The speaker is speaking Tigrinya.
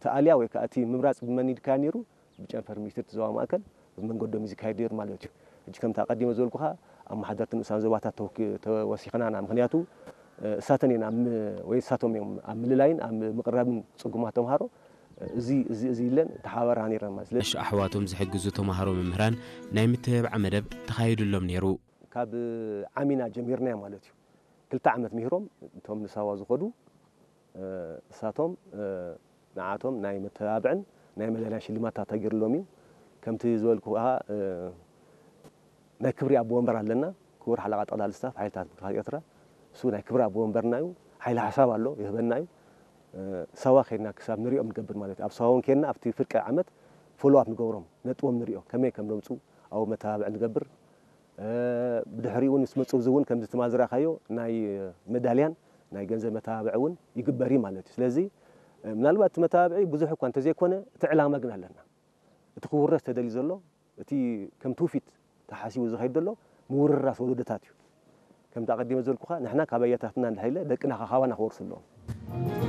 ተኣልያ ወይ ከዓ እቲ ምምራፅ ብመን ኢድካ ነይሩ? ብጨንፈር ሚኒስትር እቲ ዞባ ማእከል ብመንገዶም እዩ ዝካየድ ነይሩ ማለት እዩ። ሕጂ ከምቲ ኣቐዲመ ዝበልኩኻ ኣመሓደርቲ ንኡሳን ዞባታት ተወኪ- ተወሲኽና ኢና። ምኽንያቱ እሳተን እየን ኣብ ም- ወይ እሳቶም እዮም ኣብ ምልላይን ኣብ ምቕራብን ፅጉማት ተምሃሮ እዚ እዚ እዚ ኢለን ተሓባበራ ነይረን ማለት ስለዚ ኣሽ ኣሕዋቶም ዝሕግዙ ተምሃሮ መምህራን ናይ ምትብባዕ መደብ ተኻይዱሎም ነይሩ። ካብ ዓሚና ጀሚርናዮ ማለት እዩ። ክልተ ዓመት ምሂሮም እቶም ንሳዋ ዝኸዱ እሳቶም ንዓቶም ናይ መተባብዕን ናይ መዳልያን ሽልማት ተገይሩሎም እዩ። ከምቲ ዝበልኩ ከዓ ናይ ክብሪ ኣቦ ወንበር ኣለና። ክቡር ሓለቓ ጠቕላሊ ስታፍ ሓይልታት ምክልኻል ኤርትራ እሱ ናይ ክብሪ ኣቦ ወንበርና እዩ። ሓይሊ ሓሳብ ኣሎ ይህበና እዩ። ሳዋ ከድና ክሳብ ንሪኦም ንገብር ማለት እዩ። ኣብ ሳዋ እውን ከድና ኣብቲ ፍርቂ ዓመት ፎሎኣፕ ንገብሮም ነጥቦም ንሪኦ ከመይ ከም ዘምፁ ኣብኡ መተባብዒ ንገብር። ብድሕሪኡ እውን ምስ መፁ እዚ እውን ከምዚ ትማል ዝረኣኻዮ ናይ መዳልያን ናይ ገንዘብ መተባብዒ እውን ይግበር እዩ ማለት እዩ። ስለዚ ምናልባት እቲ መተባብዒ ብዙሕ እኳ እንተዘይኮነ እቲ ዕላማ ግን ኣለና። እቲ ክውረስ ተደልዩ ዘሎ እቲ ከም ትውፊት ተሓሲቡ ዝኸይድ ዘሎ ምውርራስ ወለዶታት እዩ። ከምቲ ኣቐዲመ ዝበልኩኻ ንሕና ካብ ኣያታትና እንድሕር ኢለ ደቅና ካብ ካባና ክወርሱ ኣለዎም።